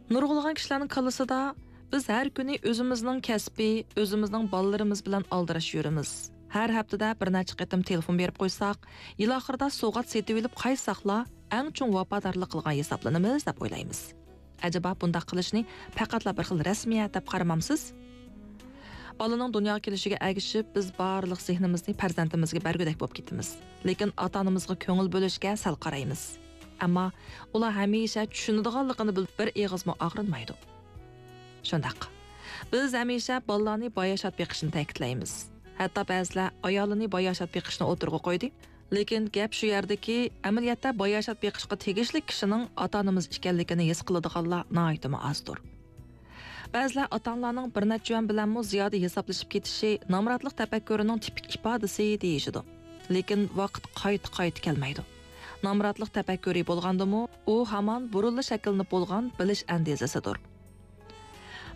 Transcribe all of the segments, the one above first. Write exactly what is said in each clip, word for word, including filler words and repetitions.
نۇرغۇنلىغان كىشىلەرنىڭ كاللىسىدا، بىز ھەر كۈنى ئۆزىمىزنىڭ كەسپى، ئۆزىمىزنىڭ بالىلىرىمىز بىلەن ئالدىراش يۈرىمىز. ھەر ھەپتىدە بىر نەچچە قېتىم تېلېفون بېرىپ قويساق، يىل ئاخىرىدا سوۋغات سېتىۋېلىپ قايتساقلا، ئەڭ چوڭ ۋاپادارلىق قىلغان ھېسابلىنىمىز دەپ ئويلايمىز. ئەجەبا بۇنداق قىلىشنى پەقەتلا بىر خىل رەسمىيەت دەپ قارىمامسىز؟ بالىنىڭ دۇنياغا كېلىشىگە ئەگىشىپ، بىز بارلىق زېھنىمىزنى پەرزەنتىمىزگە بەرگۈدەك بولۇپ كېتىمىز. لېكىن ئاتا-ئانىمىزغا كۆڭۈل بۆلۈشكە سەل قارايمىز. ئەمما ئۇلار ھەمىشە چۈشىنىدىغانلىقىنى بىلىپ، بىر ئېغىزمۇ ئاغرىنمايدۇ. شۇنداق. بىز ھەمىشە بالىلارنى باياشات بېقىشنى تەكىتلەيمىز. ھەتتا بەزىلەر ئايالىنى باياشات بېقىشنى ئوتتۇرىغا قويدى. لېكىن گەپ شۇ يەردىكى، ئەمەلىيەتتە باياشات بېقىشقا تېگىشلىك كىشىنىڭ ئاتا-ئانىمىز ئىكەنلىكىنى ھېس قىلىدىغانلار ناھايىتىمۇ ئازدۇر. بەزىلەر ئاتا-ئانىلارنىڭ بىر نەچچە يۈەن بىلەنمۇ زىيادە ھېسابلىشىپ كېتىشى نامراتلىق تەپەككۇرىنىڭ تىپىك ئىپادىسى دېيىشىدۇ. لېكىن ۋاقىت قايتا-قايتا كەلمەيدۇ. نامراتلىق تەپەككۇرى بولغاندىمۇ، ئۇ ھامان بۇرۇنلا شەكىللىنىپ بولغان بىلىش ئەندىزىسىدۇر.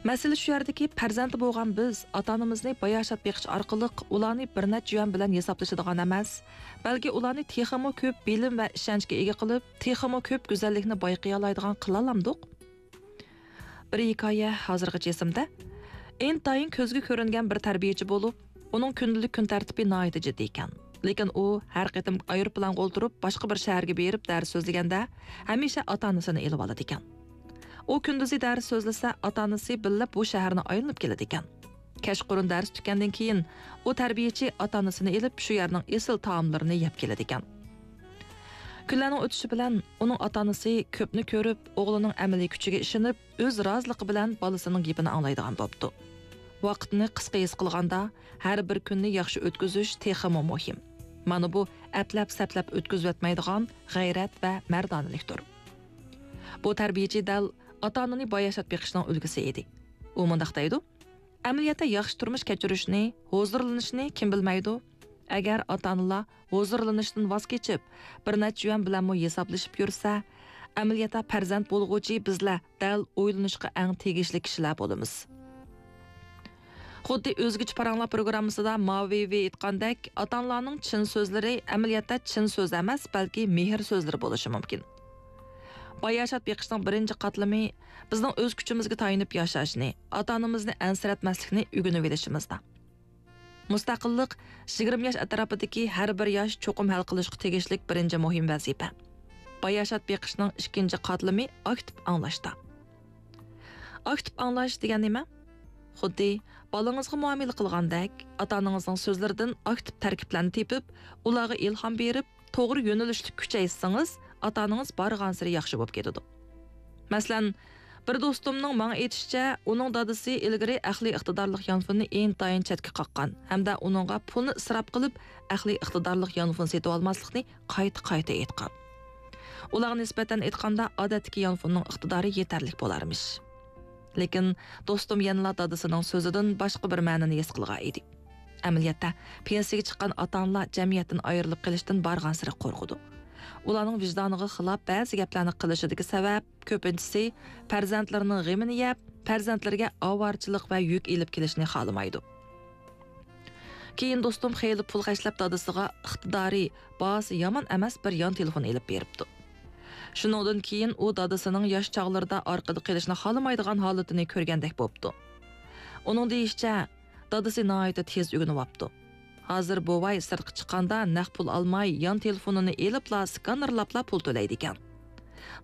مەسىلە شۇ يەردىكى، پەرزەنتى بولغان بىز ئاتا-ئانىمىزنى باياشات بېقىش ئارقىلىق ئۇلارنى بىر نەچچە يۈەن بىلەن ھېسابلىشىدىغان ئەمەس، بەلكى ئۇلارنى تېخىمۇ كۆپ بىلىم ۋە ئىشەنچكە ئىگە قىلىپ، تېخىمۇ كۆپ گۈزەللىكنى بايقىيالايدىغان قىلالامدۇق؟ بىر ھېكايە ھازىرغىچە ئېسىمدە. ئىنتايىن كۆزگە كۆرۈنگەن بىر تەربىيەچى بولۇپ، ئۇنىڭ كۈندىلىك كۈن تەرتىپى ناھايىتى جىددىي ئىكەن. لېكىن ئۇ ھەر قېتىم ئايروپىلانغا ئولتۇرۇپ، باشقا بىر شەھەرگە بېرىپ دەرس سۆزلىگەندە، ھەمىشە ئاتا-ئانىسىنى ئېلىۋالىدىكەن. ئۇ كۈندۈزى دەرس سۆزلىسە، ئاتا-ئانىسى بىللە بۇ شەھەرنى ئايلىنىپ كېلىدىكەن. كەچقۇرۇن دەرس پۈتكەندىن كېيىن، ئۇ تەربىيەچى ئاتا-ئانىسىنى ئېلىپ، شۇ يەرنىڭ ئېسىل تائاملىرىنى يەپ كېلىدىكەن. كۈنلەرنىڭ ئۆتۈشى بىلەن ئۇنىڭ ئاتا-ئانىسى كۆپنى كۆرۈپ، ئوغلىنىڭ ئەمەلىي كۈچىگە ئىشىنىپ، ئۆز رازىلىقى بىلەن بالىسىنىڭ گېپىنى ئاڭلايدىغان بوپتۇ. ۋاقىتنى قىسقا ھېس قىلغاندا، ھەر بىر كۈننى ياخشى ئۆتكۈزۈش تېخىمۇ مۇھىم. مانا بۇ ئەپلەپ-سەپلەپ ئۆتكۈزۈۋەتمەيدىغان غەيرەت ۋە مەردانىلىكتۇر. بۇ تەربىيەچى دەل ئاتا-ئانىنى باياشات بېقىشنىڭ ئۈلگىسى ئىدى. ئۇ مۇنداق دەيدۇ: ئەمەلىيەتتە ياخشى تۇرمۇش كەچۈرۈشنى، ھۇزۇرلىنىشنى كىم بىلمەيدۇ؟ ئەگەر ئاتا-ئانىلار ھۇزۇرلىنىشتىن ۋاز كېچىپ، بىر نەچچە يۈەن بىلەنمۇ ھېسابلىشىپ يۈرسە، ئەمەلىيەتتە پەرزەنت بولغۇچى بىزلەر دەل ئويلىنىشقا ئەڭ تېگىشلىك كىشىلەر بولىمىز. خۇددى ئۆزگىچە پاراڭلار پروگراممىسىدا ماۋى ۋى ئېيتقاندەك، ئاتا-ئانىلارنىڭ چىن سۆزلىرى ئەمەلىيەتتە چىن سۆز ئەمەس، بەلكى مېھىر سۆزلىرى بولۇشى مۇمكىن. باياشات بېقىشنىڭ بىرىنچى قاتلىمى بىزنىڭ ئۆز كۈچىمىزگە تايىنىپ ياشاشنى، ئاتا-ئانىمىزنى ئەنسىرەتمەسلىكنى ئۆگىنىۋېلىشىمىزدا. مۇستەقىللىق يىگىرمە ياش ئەتراپىدىكى ھەر بىر ياش چوقۇم ھەل قىلىشقا تېگىشلىك بىرىنچى مۇھىم ۋەزىپە. باياشات بېقىشنىڭ ئىككىنچى قاتلىمى ئاكتىپ ئاڭلاشتا. ئاكتىپ ئاڭلاش دېگەن نېمە؟ خۇددى بالىڭىزغا مۇئامىلە قىلغاندەك، ئاتا-ئانىڭىزنىڭ سۆزلىرىدىن ئاكتىپ تەركىبلەرنى تېپىپ، ئۇلارغا ئىلھام بېرىپ، توغرا يۆنىلىشلىك كۈچەيتسىڭىز، ئاتا-ئانىڭىز بارغانسېرى ياخشى بولۇپ كېتىدۇ. مەسىلەن، بىر دوستۇمنىڭ ماڭا ئېيتىشىچە، ئۇنىڭ دادىسى ئىلگىرى ئەقلىي ئىقتىدارلىق يانفوننى ئىنتايىن چەتكە قاققان ھەمدە ئۇنىڭغا پۇلنى ئىسراپ قىلىپ، ئەقلىي ئىقتىدارلىق يانفون سېتىۋالماسلىقنى قايتا-قايتا ئېيتقان. ئۇلارغا نىسبەتەن ئېيتقاندا، ئادەتتىكى يانفوننىڭ ئىقتىدارى يېتەرلىك بولارمىش. لېكىن دوستۇم يەنىلا دادىسىنىڭ سۆزىدىن باشقا بىر مەنىنى ھېس قىلغان ئىدى. ئەمەلىيەتتە، پېنسىيەگە چىققان ئاتا-ئانىلار جەمئىيەتتىن ئايرىلىپ قېلىشتىن بارغانسېرى قورقىدۇ. ئۇلارنىڭ ۋىجدانىغا خىلاپ بەزى گەپلەرنى قىلىشىدىكى سەۋەب، كۆپىنچىسى پەرزەنتلىرىنىڭ غېمىنى يەپ، پەرزەنتلىرىگە ئاۋارىچىلىق ۋە يۈك ئېلىپ كېلىشنى خالىمايدۇ. كېيىن دوستۇم خېلى پۇل خەجلەپ دادىسىغا ئىقتىدارى، باھاسى يامان ئەمەس بىر يان تېلېفون ئېلىپ بېرىپتۇ. شۇنىڭدىن كېيىن ئۇ دادىسىنىڭ ياش چاغلىرىدا ئارقىدا قېلىشنى خالىمايدىغان ھالىتىنى كۆرگەندەك بوپتۇ. ئۇنىڭ دېيىشىچە، دادىسى ناھايىتى تېز ئۆگىنىۋاپتۇ. ھازىر بوۋاي سىرتقا چىققاندا نەق پۇل ئالماي، يان تېلېفونىنى ئېلىپلا، سكانېرلاپلا پۇل تۆلەيدىكەن.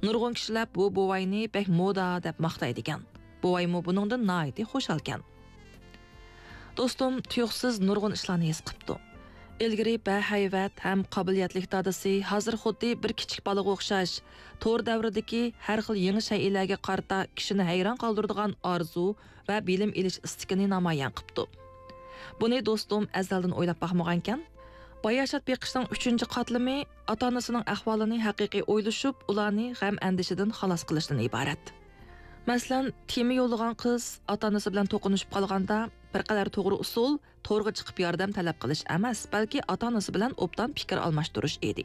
نۇرغۇن كىشىلەر بۇ بوۋاينى بەك مودا دەپ ماختايدىكەن. بوۋايمۇ بۇنىڭدىن ناھايىتى خۇشالكەن. دوستۇم تۇيۇقسىز نۇرغۇن ئىشلارنى ھېس قىپتۇ. ئىلگىرى بەھەيۋەت ھەم قابىلىيەتلىك دادىسى ھازىر خۇددى بىر كىچىك بالىغا ئوخشاش، تور دەۋرىدىكى ھەر خىل يېڭى شەيئىلەرگە قارىتا كىشىنى ھەيران قالدۇرىدىغان ئارزۇ ۋە بىلىم ئېلىش ئىستىكىنى نامايان قىپتۇ. بۇنى دوستۇم ئەزەلدىن ئويلاپ باقمىغانىكەن. باياشات بېقىشنىڭ ئۈچىنچى قاتلىمى ئاتا-ئانىسىنىڭ ئەھۋالىنى ھەقىقىي ئويلىشىپ، ئۇلارنى غەم-ئەندىشىدىن خالاس قىلىشتىن ئىبارەت. مەسىلەن، تېما يوللىغان قىز ئاتا-ئانىسى بىلەن توقۇنۇشۇپ قالغاندا، بىر قەدەر توغرا ئۇسۇل تورغا چىقىپ ياردەم تەلەپ قىلىش ئەمەس، بەلكى ئاتا-ئانىسى بىلەن ئوبدان پىكىر ئالماشتۇرۇش ئىدى.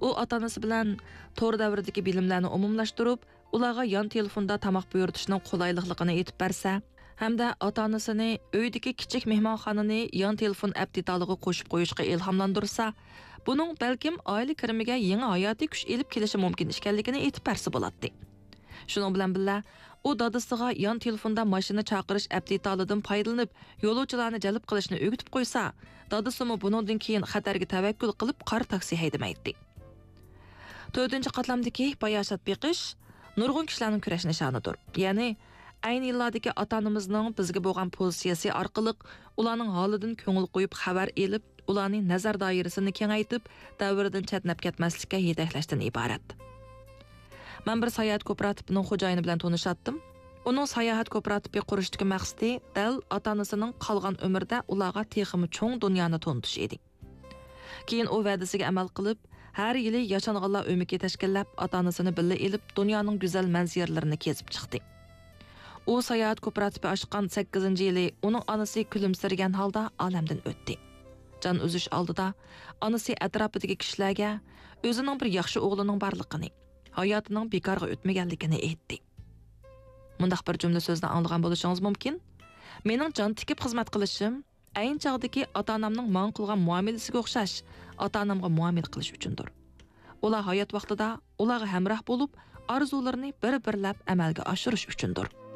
ئۇ ئاتا-ئانىسى بىلەن تور دەۋرىدىكى بىلىملەرنى ئومۇملاشتۇرۇپ، ئۇلارغا يان تېلېفوندا تاماق بۇيرۇتۇشنىڭ قولايلىقلىقىنى ئېيتىپ بەرسە، ھەمدە ئاتا-ئانىسىنى ئۆيدىكى كىچىك مېھمانخانىنى يان تېلېفون ئەپ دېتالىغا قوشۇپ قويۇشقا ئىلھاملاندۇرسا، بۇنىڭ بەلكىم ئائىلە كىرىمىگە يېڭى ھاياتىي كۈچ ئېلىپ كېلىشى مۇمكىن ئىكەنلىكىنى ئېيتىپ بەرسە بولاتتى. شۇنىڭ بىلەن بىللە، ئۇ دادىسىغا يان تېلېفوندا ماشىنا چاقىرىش ئەپتىتالىدىن پايدىلىنىپ، يولۇچىلارنى جەلپ قىلىشنى ئۆگىتىپ قويسا، دادىسىمۇ بۇنىڭدىن كېيىن خەتەرگە تەۋەككۈل قىلىپ، قارا تاكسى ھەيدىمەيتتى. تۆتىنچى قاتلامدىكى باياشات بېقىش نۇرغۇن كىشىلەرنىڭ كۈرەش نىشانىدۇر. يەنى، ئەينى يىللاردىكى ئاتا-ئانىمىزنىڭ بىزگە بولغان پوزىتسىيەسى ئارقىلىق ئۇلارنىڭ ھالىدىن كۆڭۈل قويۇپ خەۋەر ئېلىپ، ئۇلارنى نەزەر دائىرىسىنى كېڭەيتىپ، دەۋرىدىن چەتنەپ كەتمەسلىككە يېتەكلەشتىن ئىبارەت. مەن بىر ساياھەت كوپىراتىپىنىڭ خوجايىنى بىلەن تونۇشاتتىم. ئۇنىڭ ساياھەت كوپىراتىپى قۇرۇشتىكى مەقسىتى دەل ئاتا-ئانىسىنىڭ قالغان ئۆمرىدە ئۇلارغا تېخىمۇ چوڭ دۇنيانى تونۇتۇش ئىدى. كېيىن ئۇ ۋەدىسىگە ئەمەل قىلىپ، ھەر يىلى ياشانغانلار ئۆمىكى تەشكىللەپ، ئاتا-ئانىسىنى بىللە ئېلىپ، دۇنيانىڭ گۈزەل مەنزىرىلىرىنى كېزىپ چىقتى. ئۇ ساياھەت كوپىراتىپى ئاچقان سەككىزىنچى يىلى ئۇنىڭ ئانىسى كۈلۈمسىرىگەن ھالدا ئالەمدىن ئۆتتى. جان ئۈزۈش ئالدىدا ئانىسى ئەتراپىدىكى كىشىلەرگە ئۆزىنىڭ بىر ياخشى ئوغلىنىڭ بارلىقىنى، ھاياتىنىڭ بىكارغا ئۆتمىگەنلىكىنى ئېيتتى. مۇنداق بىر جۈملە سۆزنى ئاڭلىغان بولۇشىڭىز مۇمكىن: «مېنىڭ جان تىكىپ خىزمەت قىلىشىم ئەينى چاغدىكى ئاتا-ئانامنىڭ ماڭا قىلغان مۇئامىلىسىگە ئوخشاش، ئاتا-ئانامغا مۇئامىلە قىلىش ئۈچۈندۇر. ئۇلار ھايات ۋاقتىدا ئۇلارغا ھەمراھ بولۇپ، ئارزۇلىرىنى بىر-بىرلەپ ئەمەلگە ئاشۇرۇش ئۈچۈندۇر.»